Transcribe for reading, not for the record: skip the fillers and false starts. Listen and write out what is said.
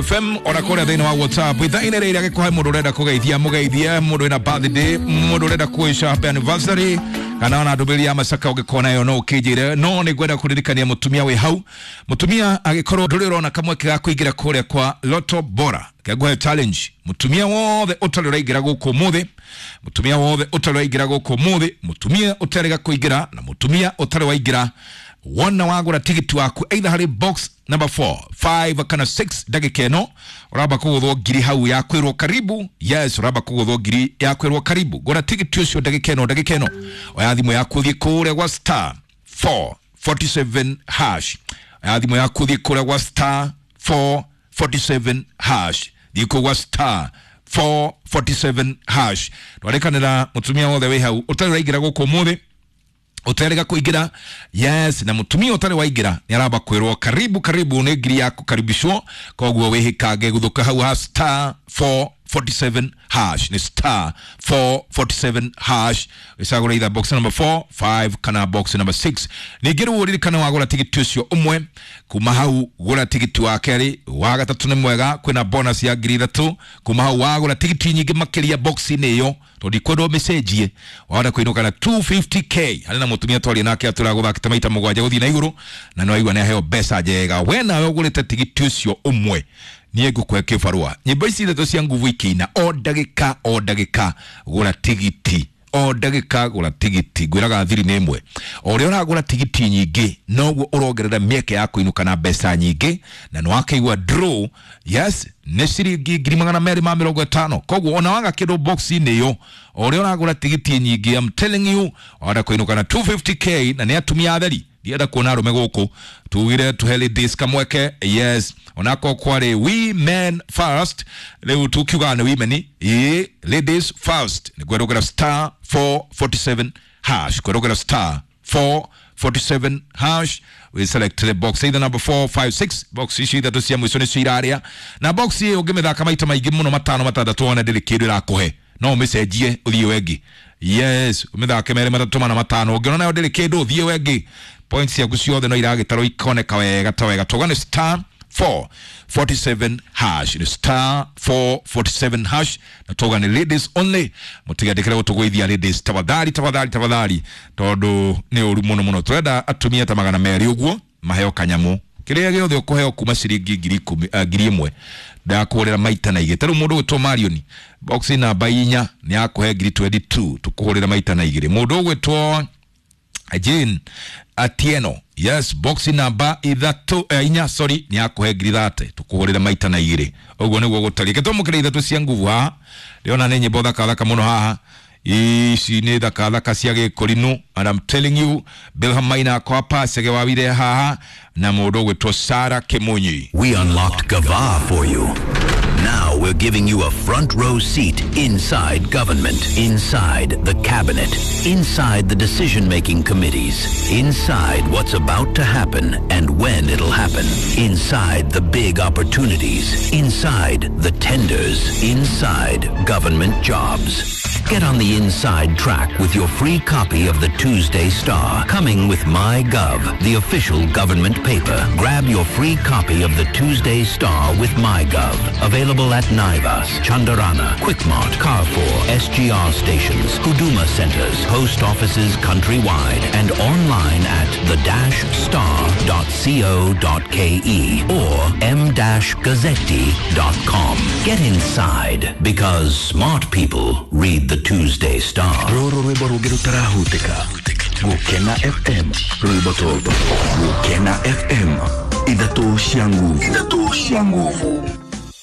FM ona kũrĩa thĩinĩ wa WhatsApp ithaa-inĩ rĩrĩa gĩkũhe mũndũ ũrenda kũgeithia mũgeithie mũndũ wĩna birthday, mũndũ ũrenda kũwish happy anniversary, kana ona ndũmĩrĩri ya macaka ũngĩkorwo nayo no ũkĩnjĩre. No nĩ ngwenda kũririkania mũtumia wĩ hau, mũtumia agĩkorwo ndũrĩ ũrona kamweke ga kũingĩra kũrĩa kwa Lotto Bora, kengũhe challenge. Mũtumia wothe ũtarĩ ũraingĩra gũkũ ũmũthĩ, mũtumia wothe ũtarĩ ũraingĩra gũkũ ũmũthĩ, mũtumia ũtarĩ kũingĩra na mũtumia ũtarĩ waingĩra, wona wagũra tigiti waku either harĩ box number 4, 5 kana 6, ndagĩka ĩno ũramba kũgũthwo ngiri hau ya kwĩrwo karibu. Yes, ũramba kũgũthwo ngiri ya kwĩrwo karibu. Gũra tigiti ũcio ndagĩka ĩno, ndagĩka ĩno oya thimũ yaku ũthiĩ kũrĩa gwa star 447 hash. Oya thimũ yaku ũthiĩ kũrĩa gwa star 447 hash, thiĩ kũu gwa star 447 hash. Twarĩkanĩra mũtumia wothe wĩ hau ũtarĩ ũraingĩra gũkũ ũmũthĩ, utarega kuingira, yes, na mutumia utari waingira ni aramba kwirwo karibu karibu, ni ngiri ya kukaribishwo. Koguo wihikange guthuka hau ha star 447 hash, ni star 447 hash, icagũra either box number 4, 5 kana box number 6. Ningĩ rĩu ũririkane wagũra tigiti ũcio ũmwe, kuma hau gũra tigiti wa kerĩ, wa gatatũ nĩ mwega, kwĩna bonus ya 3,000. Kuma hau wagũra tigiti nyingĩ makĩria box-inĩ ĩyo, tondũ ndikwenda ũmĩcenjie, wahota kũinũka na 250K. Harĩ na mũtumia twaria nake atũra gũthakĩte maita 7 gũthiĩ na igũrũ, na nĩ waigua nĩ aheo mbeca njega. We nawe ũgũrĩte tigiti ũcio ũmwe, niĩ ngũkũhe kĩbarũa. Nyĩmbo ici ithatũ cia nguvu ikĩina o ndagĩka o ndagĩka, gũra tigiti o ndagĩka, gũra tigiti. Ngwĩraga thiri nĩ ĩmwe, o ũrĩa ũragũra tigiti nyingĩ noguo ũrongerera mĩeke ya kũinũka na mbeca nyingĩ. Na nĩ wakĩigua draw, yes, nĩ ciringi 250,000. Koguo ona waga kĩndũ box-inĩ ĩyo, o ũrĩa ũragũra tigiti nyingĩ, I'm telling you, wahota kũinũka na 250K. Na nĩ atumia atheri, ndienda kuona arũme gũkũ, tugire tuhe ladies kamweke. Yes, onako kwarĩ women first, rĩu tukiugaga nĩ women, ĩ ladies first. Nĩ kwerũgĩra star 447 hash, kwerũgĩra star 447 hash, we select the box either number 4, 5, 6. Box ici ithatũ cia mũico nĩcio irarĩa, na box ĩyo ũngĩmĩthaka maita maingĩ mũno, matano, matandatũ, wona ndĩrĩ kĩndũ ĩrakũhe, no ũmĩcenjie ũthiĩ wengi. Yes, ũmĩthake merĩ, matatũ, mana, matano, ũngĩona nayo ndĩrĩ kĩndũ, ũthiĩ wengi. Points ciaku ciothe no iragĩtarwo ikoneka wega ta wega. Tũgane star 447 hash, ni star 447 hash, na tũgane ladies only. Mũtigendĩkĩre gũtũgũithia ladies, tafadhali, tafadhali, tafadhali, tondũ nĩ ũru mũno mũno. Tũrenda atumia ta 200 ũguo maheo kanyamũ kĩrĩa gĩothe ũkũheo kuma ciringi 10,000, 1,000 ndakũhũrĩra maita na igĩrĩ. Ta rĩu mũndũ ũgwĩtwo Marion, box namba 4, nĩ akũhe 22,000, tũkũhũrĩra maita na igĩrĩ. Mũndũ ũgwĩtwo Jane Atieno, yes, box namba 3, 4, sorry, nĩ akũhe 30,000, tũkũhũrĩra maita na igĩrĩ. Ũguo nĩguo gũtariĩ. Gĩtũmũkĩra ithatũ cia nguvu haha, ndĩrona nĩ nyĩmbo thaka thaka mũno haha. Ici nĩ thaka thaka cia gĩkũrinũ, and I'm telling you, Bilham Maina ako hapa, Chege wa Wire haha, na mũndũ ũgwĩtwo Sarah Kimunyi. We unlocked Gava for you. Now we're giving you a front row seat inside government, inside the cabinet, inside the decision-making committees, inside what's about to happen and when it'll happen, inside the big opportunities, inside the tenders, inside government jobs. Get on the inside track with your free copy of the Tuesday Star, coming with MyGov, the official government paper. Grab your free copy of the Tuesday Star with MyGov. Available at Naivas, Chandarana, Quickmart, Carrefour, SGR stations, Huduma centers, post offices countrywide, and online at the-star.co.ke or m-gazzetti.com. Get inside, because smart people read the Tuesday Star. Rũrũ rwĩmbo rũngĩ rũtarahutĩka Gũkena FM, rwĩmbo tondũ Gũkena FM, ithatũ cia nguvu, ithatũ cia nguvu.